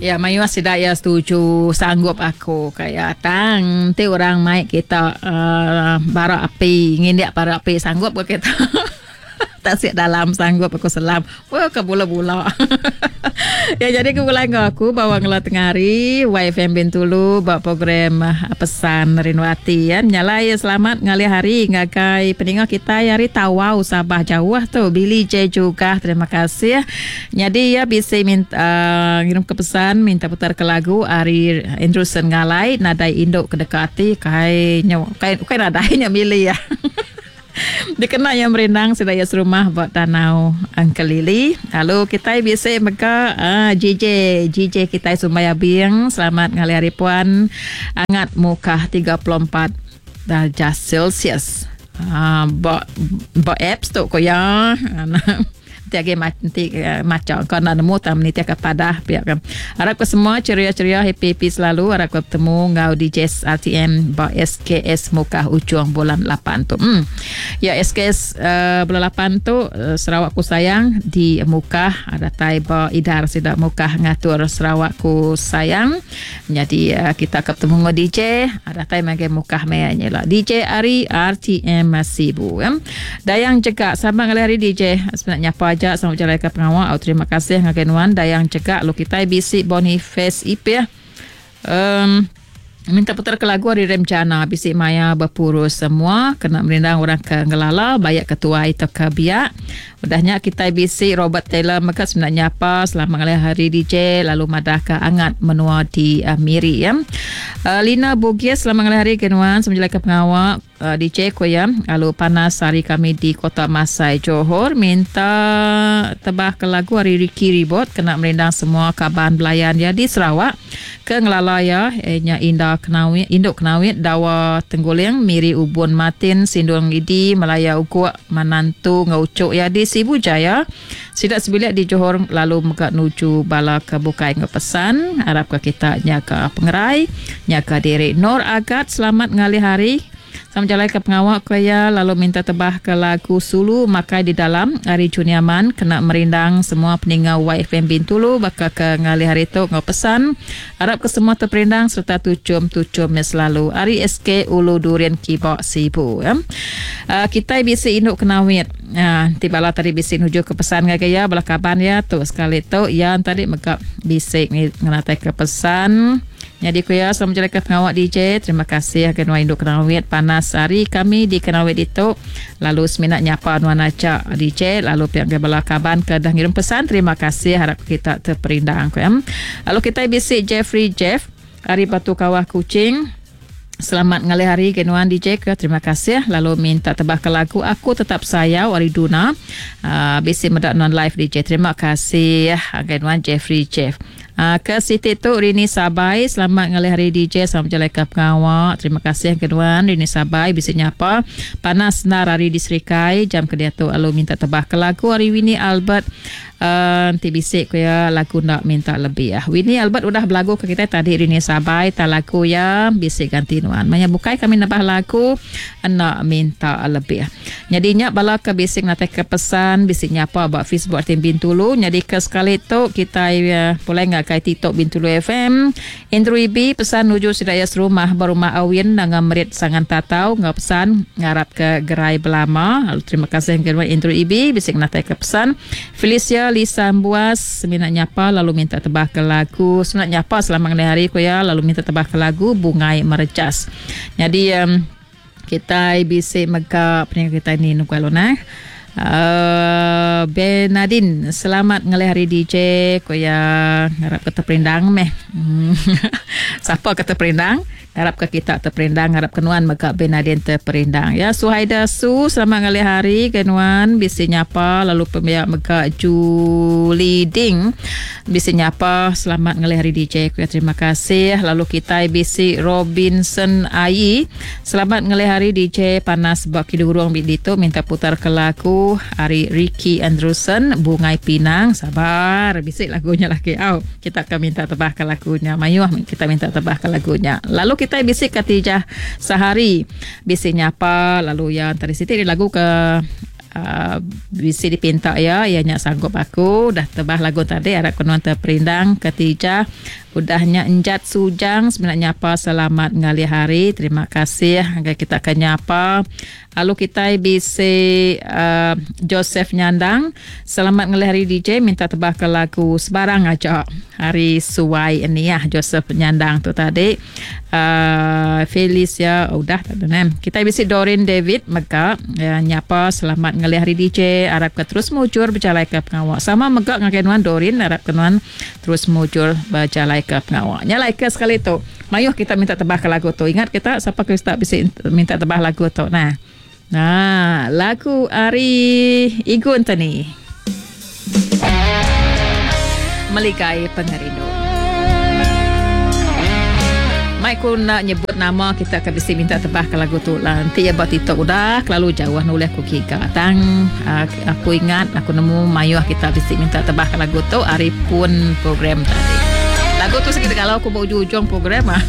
Ya mayuh sida iya setuju sanggup aku ka iya tang enti orang mai kita uhh bara api ngindik bara api sanggup ka kita. Tasik dalam sanggup aku selam. Wah ke bula-bula. ya jadi ke gulai enggau aku bawa ngela tengah hari YFM Bintulu ba program ah, pesan Rindu Ati ya. Nyalai selamat ngalih hari ngagai peninga kita hari Tawau Sabah jauh tu Billy J juga terima kasih. Nyadi ya bisi minta uh, ngirim ke pesan minta putar ke lagu ari Andrewson Ngalai nadai induk ke deka ati kai nyo kai kai nadai nya Billy ya. Dikena iya merindang sida iya serumah ba Danau Engkelili. Lalu kitai bisi mega uh, GJ, GJ kitai Sumbai Abing. Selamat ngalih hari puan. Angat mukah 34 darjah Celsius. Uh, ba ba apps tu ko ya. Enti agi enti macha engka enda nemu tang menitihka padah pia ke. Arap ke semua ceria-ceria happy-happy selalu arap ke betemu enggau DJ RTM ba SKS Mukah ujung bulan 8 tu. Hmm. Ya SKS uh, bulan 8 tu uh, Sarawak ku sayang di Mukah datai ba idar sida Mukah ngatur Sarawak ku sayang. Nyadi uh, kita ke betemu enggau DJ datai magai Mukah maya nya ila. DJ ari RTM Sibu. Ya. Dayang Jegak sama ngalih hari DJ semina nyapa aja sama bejalai ke pengawa au terima kasih ngagai nuan Dayang Jegak lu kitai bisi Boniface Ipih um, minta putar ke lagu ari Rem Jana bisi maya bepurus semua kena merindang orang ke ngelala bayak ke tuai tauka ke biak udah nya kitai bisi Robert Taylor mega semina nyapa selamat ngalih hari DJ lalu madah ke angat menua di uh, Miri ya. Uh, Lina Bugis selamat ngalih hari ke nuan sama ke pengawa DJ ku iya, lalu panas hari kami di Kota Masai, Johor minta tebah ke lagu ari Ricky Ribot kena merindang semua kaban belayan iya di Sarawak ke ngelala iya iya nya Inda Kenawit, Indu Kenawit, Dawa Tengguling, Miri Ubun Martin, Sindung Idi, Malaya Uguk, Manantu enggau Uchuk iya di Sibu Jaya. Sida sebilik di Johor lalu mega nuju bala ke bukai enggau pesan arapka kita nyaga pengerai, nyaga diri. Nor Agat selamat ngalih hari. Sama jalai ke pengawa ku iya lalu minta tebah ke lagu Sulu Makai Di Dalam ari Junior Man kena merindang semua peninga YFM Bintulu baka ke ngalih hari tu enggau pesan arapka semua teperindang sereta tuchum-tuchum nya selalu ari SK Ulu Durin Kiba Sibu. Kitai bisi indu kenawit. Nya, enti bala tadi bisi nuju ke pesan ngagai iya, bala kaban iya tu sekali tu iya tadi mega bisi ngenatai ke pesan. Nyadi ku iya selalu bejalaika pengawa DJ. Terima kasih agai nuan indu Kenawit panas hari kami di Kenawit ditu lalu semina nyapa nuan aja DJ lalu pia ngagai bala kaban ke dah ngirum pesan terima kasih harap kita teperindang ku iya. Lalu kitai bisi Jeffrey Jeff ari Batu Kawah Kuching. Selamat ngalih hari ke nuan DJ ke terima kasih lalu minta tebah ke lagu aku tetap sayau ari Duna uh, bisi meda nuan live DJ terima kasih agai nuan Jeffrey Jeff uh, ke siti tu Rini Sabai selamat ngalih hari DJ selamat berjalai ke pengawa terima kasih ke nuan Rini Sabai bisi nyapa panas nar hari di Serikai jam ke diatu lalu minta tebah ke lagu ari Winnie Albert Enti bisi ku iya lagu enda minta lebih. Winnie Albert udah belagu ke kitai tadi Rini Sabai tang lagu iya bisi ganti nuan. Maya bukai kami nebah lagu enda minta lebih. Nyadi nya bala ke bisi ngenatai ke pesan bisi nyapa ba Facebook RTM Bintulu. Nyadi ke sekali tu kitai pulai ngagai TikTok Bintulu FM. Andrew Ibi pesan nuju sida iya serumah ba Rumah Awin nanga merit Sangan Tatau enggau pesan ngarap ke gerai belama. Lalu terima kasih ngagai nuan Andrew Ibi bisi ngenatai ke pesan. Felicia Lisa Embuas semina nyapa lalu minta tebah ke lagu semina nyapa selama ngelih hari ku iya lalu minta tebah ke lagu Bungai Merecas. Nyadi um, Kitai bisi mega peninga kitai ni nunggu alun eh. Uh, Bernadine, selamat ngalih hari DJ ku iya ngarap ke terperindang meh. Sapa ke terperindang? Ngarap ke kita terperindang, ngarap ke nuan mega Bernadine terperindang. Ya, Suhaida Su, selamat ngalih hari ke nuan bisi nyapa lalu pembiak mega Julie Ding bisi nyapa selamat ngalih hari DJ ku iya terima kasih lalu kitai bisi Robinson Ayi Selamat ngelih hari DJ panas ba Kidurong bi ditu minta putar ke lagu ari Ricky Andrewson Bungai Pinang sabar bisi lagu nya lagi au kita ke minta tebah ke lagu nya mayuh kita minta tebah ke lagu nya lalu kitai bisi Khatijah Sahari bisi nyapa lalu iya entara siti lagu ke. Uh, bisi dipinta iya iya nya sanggup aku dah tebah lagu tadi arap ke nuan terperindang ketija udah nya enjat sujang semina nyapa selamat ngalih hari terima kasih ngagai kita ke nyapa lalu kitai bisi uh, Joseph Nyandang selamat ngalih hari DJ minta tebah ke lagu sebarang aja hari suai ini ya Joseph Nyandang tu tadi uh, Felicia oh, udah tak ada Kita bisi Dorin David mega ya, nyapa selamat ngalih hari DJ arap ke terus mujur berjalai ke pengawa. Sama mega ngagai nuan Dorin arap ke nuan terus mujur berjalai ke pengawa. Nya like ke sekali tu. Mayuh kita minta tebah ke lagu tu. Ingat kita siapa ke tak bisi minta tebah lagu tu. Nah. Nah, lagu ari Igun tani. Meligai pengerindu. Mai ku nak nyebut nama kita ke bisi minta tebah ke lagu tu lah. Nanti ya ba TikTok udah kelalu jauh nulih ku kiga. Tang uh, aku ingat aku nemu mayuh kita bisi minta tebah ke lagu tu hari pun program tadi. Lagu tu sekitar kalau aku ba ujung-ujung program ah.